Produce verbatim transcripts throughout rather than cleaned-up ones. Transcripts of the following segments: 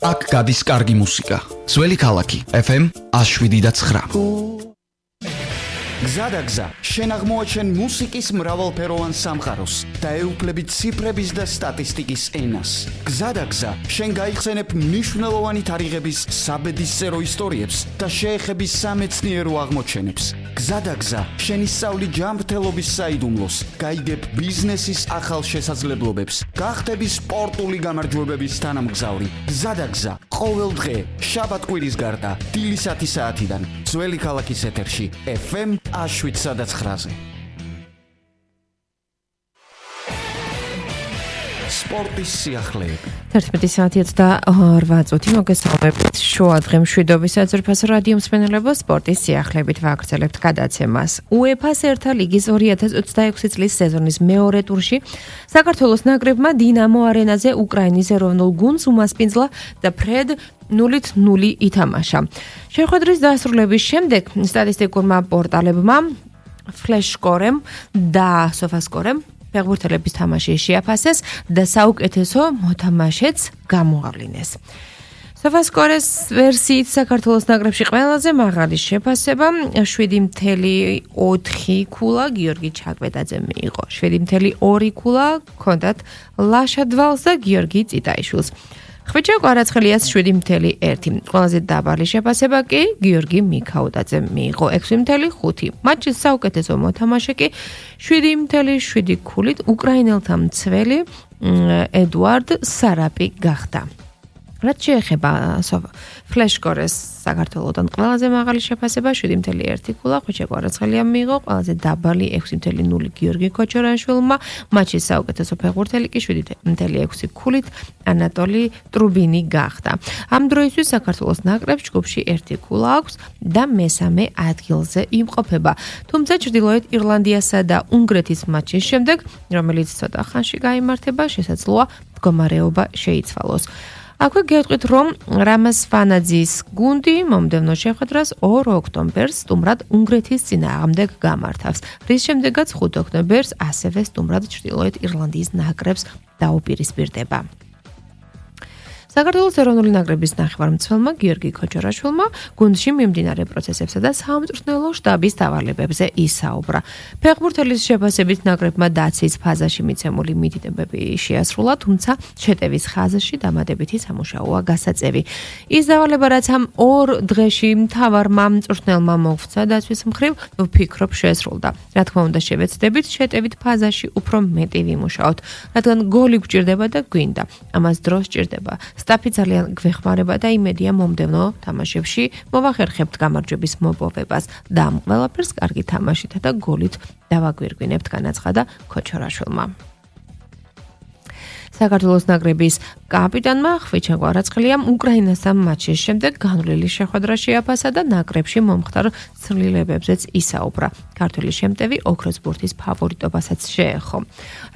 აქ გადის კარგი მუსიკა. Ძველი ქალაქი ეფ ემ one oh seven point nine. გზადაგზა, შენ აღმოაჩენ მუსიკის მრავალფეროვან სამყაროს და ეუფლებით ციფრების და სტატისტიკის ენას. გზადაგზა, შენ გაიხსენებ მნიშვნელოვანი თარიღების საბედისწერო ისტორიებს და შეეხები სამეცნიერო აღმოჩენებს. გზადაგზა, შენ ისწავლი ჯანმრთელობის საიდუმლოს, გაიგებ ბიზნესის ახალ შესაძლებლობებს, გახდები სპორტული გამარჯვებების თანამგზავრი. გზადაგზა, ყოველ დღე, შაბათ-კვირის გარდა, დილისათი საათიდან, ძველი ქალაქის ეთერში, ეფ ემ one oh seven point nine. სპორტის სიახლეები. თერთმეტი საათი ოცდაორ წუთი მოგესალმებით. შუა დღე მშვიდობის საძირფასო რადიო მსმენელებო, სპორტის სიახლეებით ვაგრძელებთ გადაცემას. უეფა-ს ერთა ლიგის two thousand twenty-six წლის სეზონის მეორე ტურში საქართველოს ნაკრებმა დინამო არენაზე უკრაინის ეროვნულ გუნდს უმასპინძლა და ფრედ nulით nul ითამაშა. შეხვედრის დასრულების შემდეგ სტატისტიკურმა პორტალებმა Flashscore-ემ და SofaScore-ემ ფეხბურთელების თამაში შეაფასეს და საუკეთესო მოთამაშეც გამოავლინეს. SofaScore-ის ვერსიით საქართველოს ნაკრებში ყველაზე მაღალი შეფასება seven point four ქულა გიორგი ჩაკვეტაძემ მიიღო. seven point two ქულა ჰქონდათ ლაშა დვალს და გიორგი წიტაიშვილს. ხვიჩა კვარაცხელიას seven point one. ყველაზე დაბალი შეფასება კი გიორგი მიქაუტაძემ მიიღო six point five. მატჩის საუკეთესო მოთამაშე კი seven point seven ქულით უკრაინელთა მცველი ედუარდ სარაპი გახდა. რაც შეეხება Flashscore-ის საქართველოსთან ყველაზე მაღალი შეფასება seven point one ქულა ხვიჩა კვარაცხელიამ მიიღო, ყველაზე დაბალი six point zero გიორგი ქოჩორაშვილმა, მატჩის საუკეთესო ფეხბურთელი კი seven point six ქულით ანატოლი ტრუბინი გახდა. ამ დროისთვის საქართველოს ნაკრებს ჯგუფში ერთი ქულა აქვს და მესამე ადგილზე იმყოფება. თუმცა ჩრდილოეთ ირლანდიასა და უნგრეთის მატჩის შემდეგ, რომელიც ცოტა ხანში გაიმართება, შესაძლოა მდგომარეობა შეიცვალოს. აქვე გეტყვით, რომ რამაზ ფანაძის გუნდი მომდევნო შეხვედრას two ოქტომბერს სტუმრად უნგრეთის წინააღმდეგ გამართავს, რის შემდეგაც five ოქტომბერს ასევე სტუმრად ჩრდილოეთ ირლანდიის ნაკრებს დაუპირისპირდება. საქართველოს ეროვნული ნაკრების ნახევარმცველმა გიორგი ქოჩორაშვილმა გუნდში მიმდინარე პროცესებსა და სამწვრთნელო შტაბის დავალებებზე ისაუბრა. ფეხბურთელის შეფასებით ნაკრებმა დაცვის ფაზაში მიცემული მითითებები შეასრულა, თუმცა შეტევის ხაზში დამატებითი სამუშაოა გასაწევი. ის დავალება, რაც ამ ორ დღეში მთავარმა მწვრთნელმა მოგვცა დაცვის მხრივ, ვფიქრობ შეესრულდა. რა თქმა უნდა, შევეცდებით შეტევით ფაზაში უფრო მეტი ვიმუშაოთ, რადგან გოლი გვჭირდება და გვინდა. ამას დრო სჭირდება. სტაფი ძალიან გვეხმარება და იმედია მომდევნო თამაშებში მოვახერხებთ გამარჯვების მოპოვებას და ამ ყველაფერს კარგი თამაშითა და გოლით დავაგვირგვინებთ, განაცხადა ქოჩორაშვილმა. საქართველოს ნაკრების კაპიტანმა ხვიჩა კვარაცხელიამ უკრაინასთან მატჩის შემდეგ განვლილი შეხვედრა შეაფასა და ნაკრებში მომხდარ ცვლილებებზეც ისაუბრა. ქართველი შემტევი ოქროს ბურთის ფავორიტობასაც შეეხო.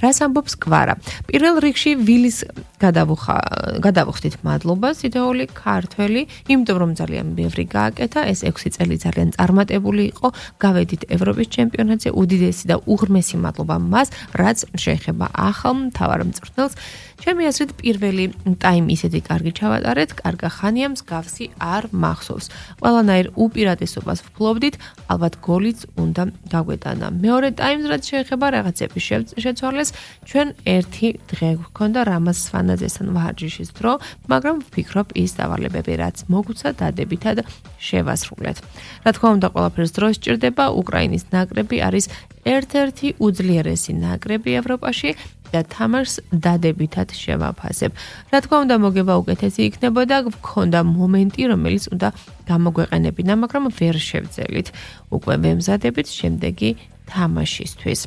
რას ამბობს კვარა? პირველ რიგში ვილის გადავუხდით მადლობას თითოეული ქართველი, იმიტომ რომ ძალიან ბევრი გააკეთა, ეს ექვსი წელი ძალიან წარმატებული იყო, გავედით ევროპის ჩემპიონატზე, უდიდესი და უღრმესი მადლობა მას, რაც შეეხება ახალ მთავარ მწვრთნელს. ჩემი აზრით პირველი ტაიმი ისეთი კარგი ჩავატარეთ, კარგა ხანია მსგავსი არ მახსოვს. ყველანაირ უპირატესობას ვფლობდით, ალბათ გოლიც უნდა გაგვეტანა. მეორე ტაიმს რაც შეეხება რაღაცების შეცვალეს, ჩვენ ერთი დღე გვქონდა რამაზ ფანაძესთან ვარჯიშის დრო, მაგრამ ვფიქრობ ის დავალებები რაც მოგვცა დადებითად შევასრულეთ. რა თქმა უნდა, ყველაფერს დრო სჭირდება, უკრაინის ნაკრები არის ერთ-ერთი უძლიერესი ნაკრები ევროპაში და თამაშს დადებითად შევაფასებ. რა თქმა უნდა, მოგება უკეთესი იქნებოდა, გვქონდა მომენტი, რომელიც უნდა გამოგვეყენებინა, მაგრამ ვერ შევძელით. უკვე ვემზადებით შემდეგი თამაშისთვის.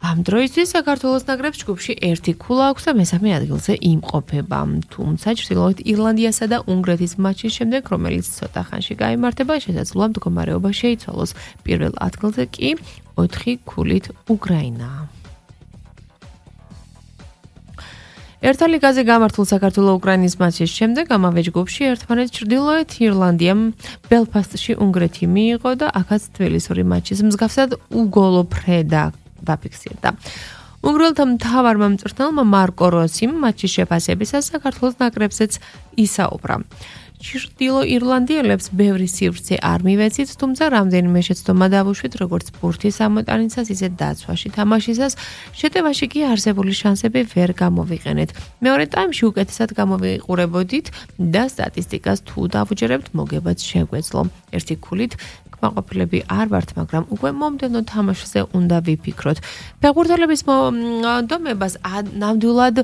ამ დროისთვის საქართველოს ნაკრებს ჯგუფში ერთი ქულა აქვს და მესამე ადგილზე იმყოფება. თუმცა ჩრდილოეთ ირლანდიასა და უნგრეთის მატჩის შემდეგ, რომელიც ცოტა ხანში გაიმართება, შესაძლოა მდგომარეობა შეიცვალოს. პირველ ადგილზე კი ოთხი ქულით უკრაინაა. ერთა ლიგაზე გამართულ საქართველო-უკრაინის მატჩის შემდეგ ამავე ჯგუფში ერთმანეთს ჩრდილოეთ ირლანდიამ ბელფასტში უნგრეთი მიიღო და აქაც თბილისური მატჩის მსგავსად უგოლო ფრედა დაფიქსირდა. უნგრელთა მთავარმა მწვრთნელმა მარკო როსიმ მატჩის შეფასებისას საქართველოს ნაკრებზეც ისაუბრა. ჩრდილო ირლანდიელებს ბევრი სივრცე არ მივეცით, თუმცა რამდენიმე შეცდომა დავუშვით, როგორც ბურთის ამოტანისას, ისე დაცვაში თამაშისას, შეტევაში კი არსებული შანსები ვერ გამოვიყენეთ. მეორე ტაიმში უკეთესად გამოვიყურებოდით და სტატისტიკას თუ დავუჯერებთ, მოგებაც შეგვეძლო. ერთი ქულით კმაყოფილები არ ვართ, მაგრამ უკვე მომდევნო თამაშზე უნდა ვიფიქროთ. ფეხბურთელების მომდომებას ნამდვილად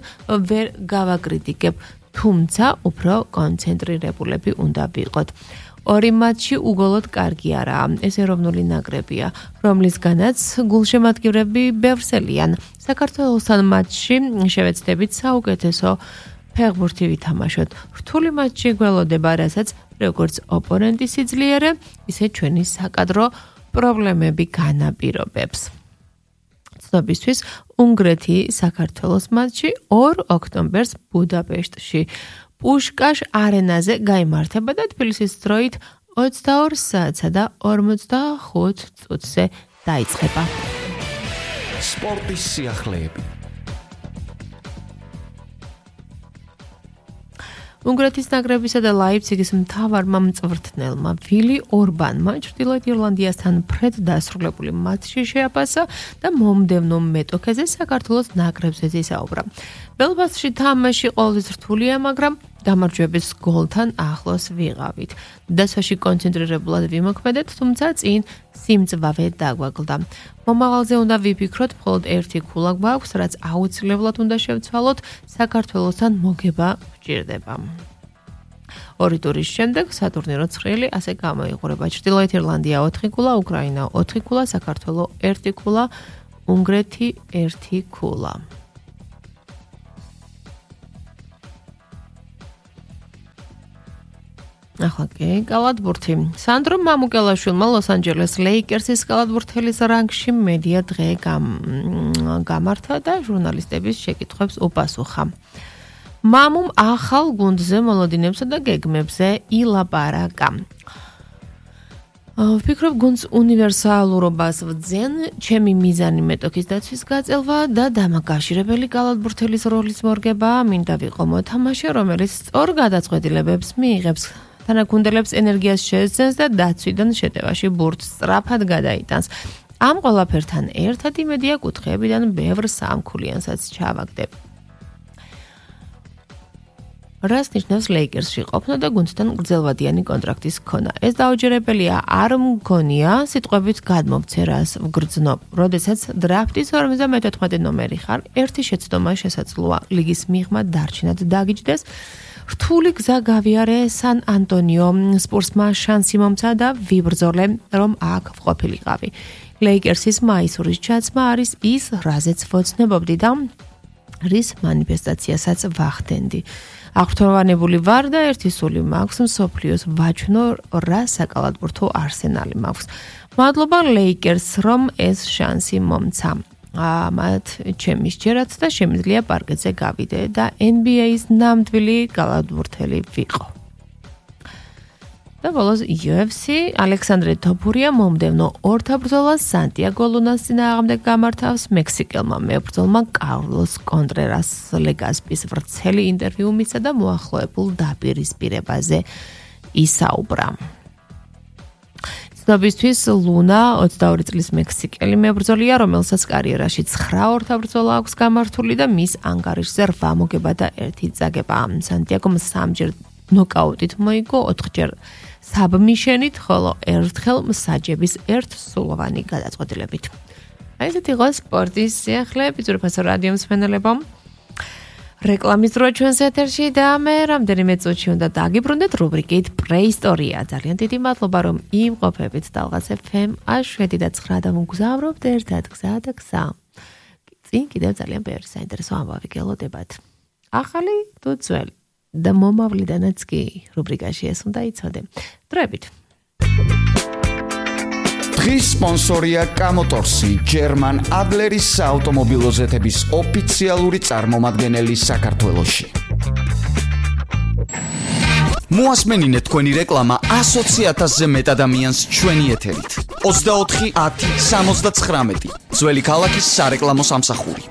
ვერ გავაკრიტიკებ. თუმცა უფრო კონცენტრირებულები უნდა ვიყოთ. ორი მატჩი უგოლოდ კარგი არაა. ეს ეროვნული ნაკრებია, რომლისგანაც გულშემატკივრები ბევრსელიან. საქართველოსთან მატჩში შევეცდებით საუკეთესო ფეხბურთი ვითამაშოთ. რთული მატჩი გველოდება, რასაც როგორც ოპონენტი სიძლიერე, ისე ჩვენი საკადრო პრობლემები განაპირობებს. ცნობისთვის უნგრეთი საქართველოს მატჩი ორ ოქტომბერს ბუდაპეშტში პუშკაშ არენაზე გაიმართება და თბილისის დროით ოცდაორ საათსა და ორმოცდახუთ წუთზე დაიწყება. სპორტის სიახლეები. უნგრეთის ნაკრებისა და ლაიფციგის მთავარმა მწვრთნელმა ვილი ორბანმა ჩრდილოეთ ირლანდიასთან ფრედ დასრულებული მატჩში შეაფასა და მომდევნო მეტოქეზე საქართველოს ნაკრებზეც ისაუბრა. ბელფასტში თამაში ყოველთვის რთულია, მაგრამ გამარჯვების გოლთან ახლოს ვიყავით. დასვაში კონცენტრირებულად ვიმოქმედეთ, თუმცა წინ სიმწვავე დაგვაგლდა. მომავალზე უნდა ვიფიქროთ, მხოლოდ ერთი ქულა გვაქვს, რაც აუცილებლად უნდა შევცვალოთ, საქართველოსთან მოგება გვჭირდება. ორი ტურის შემდეგ სატურნირო ცხრილი ასე გამოიყურება. ჩრდილოეთ ირლანდია ოთხი ქულა, უკრაინა ოთხი ქულა, საქართველო ერთი ქულა, უნგრეთი ერთი ქულა. ახლა კი კალათბურთი. სანდრო მამუკელაშვილმა ლოს-ანჯელეს ლეიკერსის კალათბურთელის რანგში მედია დღე გამართა და ჟურნალისტების შეკითხვებს უპასუხა. მამუმ ახალ გუნდზე მოლოდინებსა და გეგმებზე ილაპარაკა. ვფიქრობ, გუნდს უნივერსალურობას ვძენ, ჩემი მიზანი მეტოქის დაცვის გაწელვა და დამაკავშირებელი კალათბურთელის როლის მორგება, მინდა ვიყო მოთამაშე, რომელიც სწორ გადაწყვეტილებებს მიიღებს. თანაგუნდელებს ენერგიას შეეძენს და დაცვიდან შეტევაში ბურთს სწრაფად გადაიტანს. ამ ყველაფერთან ერთად იმედია კუთხეებიდან ბევრ სამქულიანსაც ჩავაგდებ. რას ნიშნავს ლეიკერსში ყოფნა და გუნდთან გრძელვადიანი კონტრაქტის ქონა? ეს დაუჯერებელია, არ მგონია სიტყვებით გადმომცერას ვგრძნობ. როდესაც დრაფტის ორმოცდამეთოთხმეტე ნომერი ხარ, ერთი შეცდომა შესაძლოა ლიგის მიღმა დარჩენად დაგიჯდეს. რთული გზა გავიარე სან ანტონიო, სპურსმა შანსი მომცა და ვიბრძოლე, რომ აქ ვყოფილიყავი. ლეიკერსის მაისურის ჩაცმა არის ის, რაზეც ვოცნებობდი და რის მანიფესტაციასაც ვახდენდი. აღფრთოვანებული ვარ და ერთი სული მაქვს, მსოფლიოს ვაჩვენო რა საკალათბურთო არსენალი მაქვს. მადლობა ლეიკერს, რომ ეს შანსი მომცა. ამათ ჩემი სჯერაც და შემიძლია პარკეტზე გავიდე და ენ ბი ეის ნამდვილი კალათბურთელი ვიყო. და ბოლოს იუ ეფ სი ალექსანდრე თოფურია მომდევნო ორთაბრძოლას სანტიაგო ლუნას წინააღმდეგ გამართავს მექსიკელმა მებრძოლმა კარლოს კონტრერას ლეგასპის ვრცელი ინტერვიუ მისცა და მოახლოებულ დაპირისპირებაზე ისაუბრა. ცნობისთვის ლუნა ოცდაორი წლის მექსიკელი მებრძოლია, რომელსაც კარიერაში ცხრა ორთაბრძოლა აქვს გამართული და მის ანგარიშზე რვა მოგება და ერთი წაგება. სანტიაგომ სამჯერ ნოკაუტით მოიგო, ოთხჯერ საბმიშენით, ხოლო ერთხელ მსაჯების ერთსულოვანი გადაწყვეტილებით. აი ესეთ იყო სპორტის სიახლეები, ძვირფასო რადიო მსმენელებო. რეკლამის დრო ჩვენს ეთერში და მე რამდენიმე წუთში უნდა დაგიბრუნდეთ რუბრიკით პრეისტორია. ძალიან დიდი მადლობა, რომ იმყოფებით ტალღას ეფ ემ შვიდი და ცხრა და მგზავრობთ ერთად გზა და გზა. წინ კიდევ ძალიან ბევრი საინტერესო ამბავი გელოდებათ. ახალი თუ ძველი და მომავლიდანაც კი რუბრიკაში ეს უნდა იცოდე. დროებით. დღის სპონსორია კამოტორსი, ჯერმან ადლერის საავტომობილო ზეთების ოფიციალური წარმომადგენელი საქართველოში. მოასმენინეთ თქვენი რეკლამა ასოცი ათასზე მეტ ადამიანს ჩვენი ეთერით. ოცდაოთხი ათი სამოცდაცხრამეტი ძველი ქალაქის სარეკლამო სამსახური.